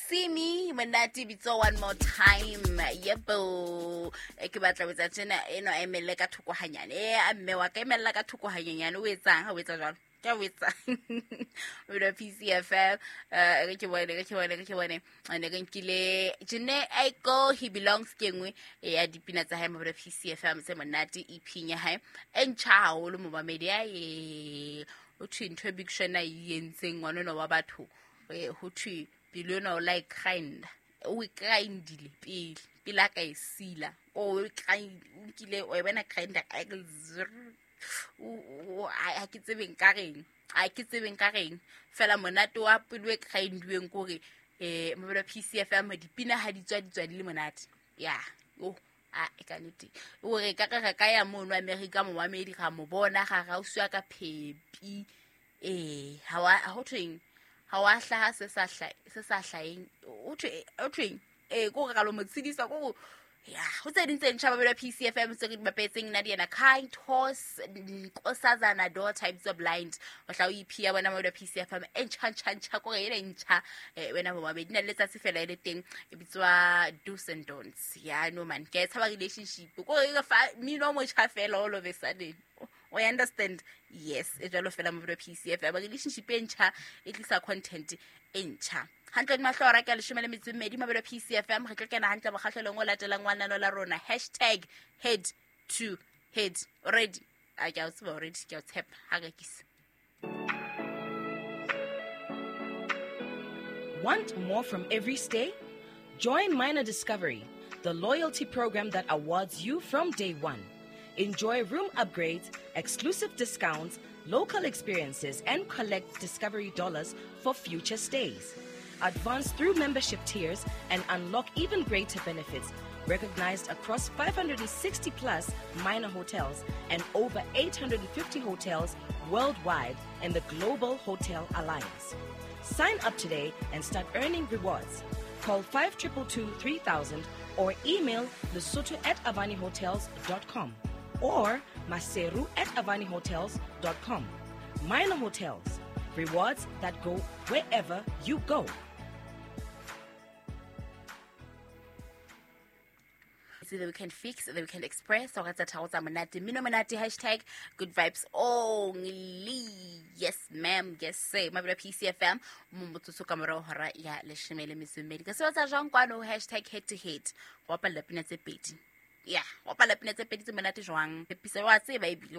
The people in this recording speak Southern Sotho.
Simi monate bitso one more time. Yebo. E ke batla ho etsa tjena eno a emelle ka thoko hanyane. E a mme wa ka emella ka thoko hanyenyane o etsang ha o etsa jwalo? Ke o etsang. O bina PCFM. Eh ke bone ke bone ke bone. Ne re nkile Jene Aiko he belongs ke nngwe ya dipina tsa hae mabelo PCFM tse monate EP ya hae. E ntjha haholo momamedi ya e o thwe ntho e Big Sean a e entseng ngwana wa batho ho thwe pelo ena o la e grind o e grindile pele pele a ka e sila o e grind o nkile o e bona grinder ha ke tsebeng ka reng ha ke tsebeng ka reng fela monate wa pelo e grindiweng kore um mabelo PCFM dipina ha di tswa di tswa di le monate ya oh a e ka nnete o re ka re ka ya mono America momamedi ga mo bona ga ga usiwa ka phepi eh ha wa ho thweng ha wa hlaha se sa hla se sa hlaheng o thwe o thweng eh ko re ka lo mo tshedisa ko ya ho tse ding tse ntjha babelwa PCFM tse re di bapetseng nna di ena kind horse nkosazana daughter e bitswa blind o tla o EP ya bona mabelwa PCFM e ntjha ntjha ntjha ko re ena e ntjha wena bomabedi na le letsatsi fela e le teng e bitswa do's and don'ts ya no man ke a e tshaba relationship ko re fa mmino o motjha fela all of a sudden o understand yes e jalo fela mabelwa PCFM relationship e ntjha e tlisa content e ntjha hantle di mahlo a ka leshome le metso e mmedi mabelo PCFM re tlo kena hantle mokgahlelong o latelang wa nano la rona hashtag head to head already a ke a o tseba already ke a o tshepa ha rekisa. Want more from every stay? Join Minor Discovery, the loyalty program that awards you from day one. Enjoy room upgrades, exclusive discounts, local experiences, and collect Discovery dollars for future stays. Advance through membership tiers and unlock even greater benefits, recognized across 560 plus minor hotels and over 850 hotels worldwide in the Global Hotel Alliance. Sign up today and start earning rewards. Call 5222 3000 or email lesotho@avanihotels.com or maseru@avanihotels.com. Minor Hotels, rewards that go wherever you go. The Weekend Fix, The Weekend Express, o tsa tharo tsa monate, mmino monate, hashtag good vibes only. Yes ma'am, yes sir. Mabelo PCFM, mo motsotso ka morao hora ya leshome le metso e mmedi. Ka sebetsa jwang kwano hashtag head to head. Go bapalla pina tse pedi. Ya, go bapalla pina tse pedi tse monate jwang. Pisa wa tseba ebile.